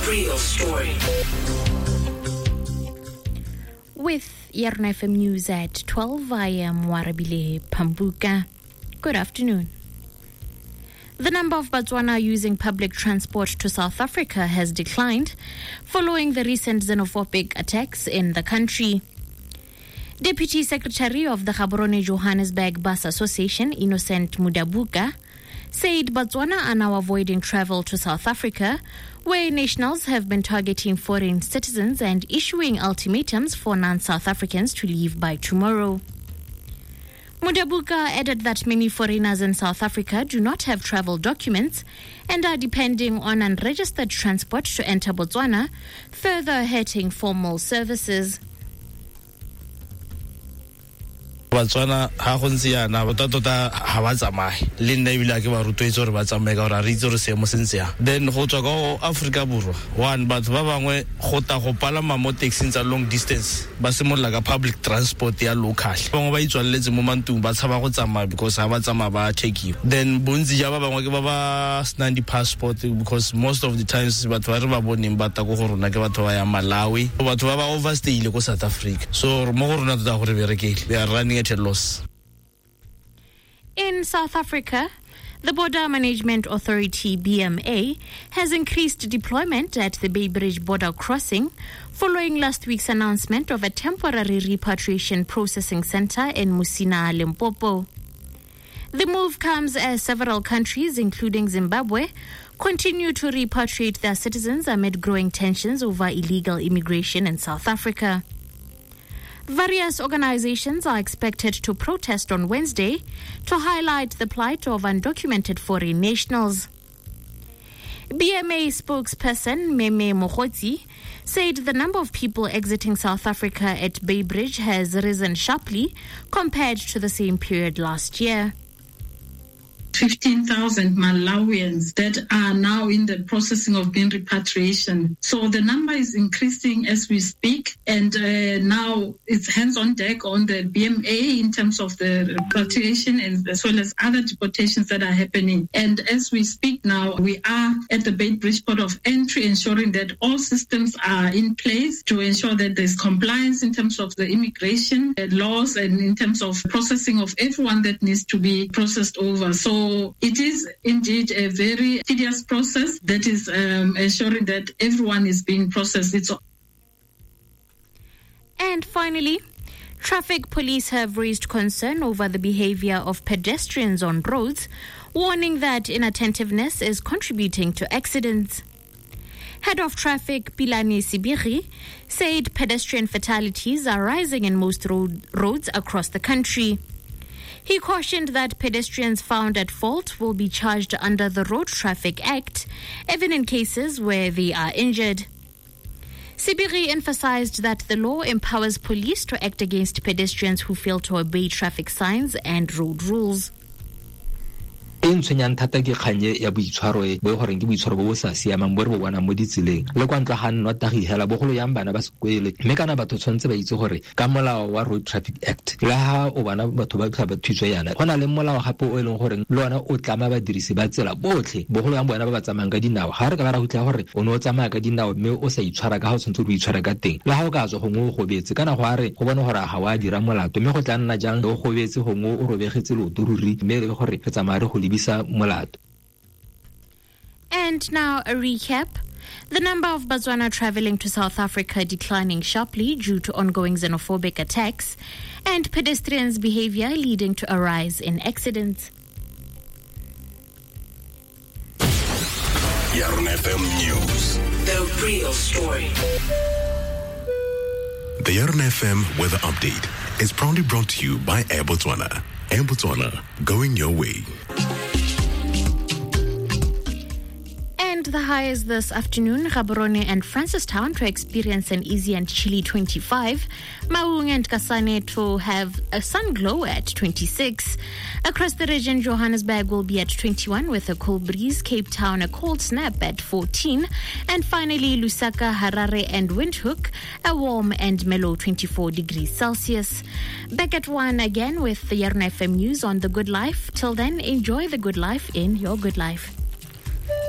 real story. With Yarona FM News at 12, I am Warabile Pambuka. Good afternoon. The number of Botswana using public transport to South Africa has declined following the recent xenophobic attacks in the country. Deputy Secretary of the Gaborone Johannesburg Bus Association, Innocent Mudabuka, said Botswana are now avoiding travel to South Africa, where nationals have been targeting foreign citizens and issuing ultimatums for non South Africans to leave by tomorrow. Mudabuka added that many foreigners in South Africa do not have travel documents and are depending on unregistered transport to enter Botswana, further hurting formal services. Batswana ga go ntse yana tota-tota ga ba tsamaye le nna ebile a ke ba rotloetse gore ba tsamaye ka gore a re itse gore seemo se ntse yang. Then go tswa ka go Aforika Borwa, one, batho ba bangwe go ta go palama mo taxing tsa long distance, ba simolola ka public transport ya local. Ba bangwe ba itswaleletse mo mantlong, ba tshaba go tsamaya because ga ba tsamaya ba checkiwa. Then bontsi ja ba bangwe ke ba ba senang di-passport, because most of the times batho ba re ba boneng ba ta ko go rona ke batho ba yang Malawi, batho ba ba overstayile ko South Africa. So mo go rona tota gore berekele, they are running at a loss. In South Africa, the Border Management Authority BMA has increased deployment at the Beitbridge border crossing following last week's announcement of a temporary repatriation processing center in Musina, Limpopo. The move comes as several countries, including Zimbabwe, continue to repatriate their citizens amid growing tensions over illegal immigration in South Africa. Various organizations are expected to protest on Wednesday to highlight the plight of undocumented foreign nationals. BMA spokesperson Meme Mogotsi said the number of people exiting South Africa at Beitbridge has risen sharply compared to the same period last year. 15,000 Malawians that are now in the processing of being repatriation. So the number is increasing as we speak, and now it's hands on deck on the BMA in terms of the repatriation and as well as other deportations that are happening. And as we speak now, we are at the Beitbridge port of entry, ensuring that all systems are in place to ensure that there's compliance in terms of the immigration laws and in terms of processing of everyone that needs to be processed over. So it is indeed a very tedious process that is ensuring that everyone is being processed. And finally, traffic police have raised concern over the behavior of pedestrians on roads, warning that inattentiveness is contributing to accidents. Head of Traffic Pilani Sibiri said pedestrian fatalities are rising in most roads across the country. He cautioned that pedestrians found at fault will be charged under the Road Traffic Act, even in cases where they are injured. Sibiri emphasized that the law empowers police to act against pedestrians who fail to obey traffic signs and road rules. E ntshwenyang thata ke kganye ya boitshwaro e bo goreng ke boitshwaro bo bo sa siamang bo re bo bonang mo ditseleng le kwa ntlo ga nna tagi hela bogolo yang bana ba sekwele, mme kana batho tshwanetse ba itse gore ka molao wa Road Traffic Act le ha o bana batho ba tla ba thuswe yana go na le molao gape o e leng gore le ona o tlama badirisi ba tsela botlhe, bogolo yang bona ba ba tsamayang ka dinao. Ga re ka ba ra hutlha gore o ne o tsamaya ka dinao mme o sa itshwara ka ga o tshwanetse o itshwara ka teng, le ha o ka tswa gongwe o gobetse kana go a re go bone gore ga wa dira molato, mme go tla nna jang o gobetse gongwe o robegetse leoto ruri, mme le gore re tsamaya re go. And now a recap. The number of Botswana traveling to South Africa declining sharply due to ongoing xenophobic attacks and pedestrians' behavior leading to a rise in accidents. Yarona FM News. The real story. The Yarona FM weather update is proudly brought to you by Air Botswana. Air Botswana, going your way. And the highs this afternoon, Gaborone and Francistown to experience an easy and chilly 25, Maung and Kasane to have a sun glow at 26. Across the region, Johannesburg will be at 21 with a cool breeze, Cape Town a cold snap at 14, and finally Lusaka, Harare and Windhoek a warm and mellow 24 degrees Celsius. Back at 1 again with the Yarona FM News on The Good Life. Till then, enjoy the good life in your good life.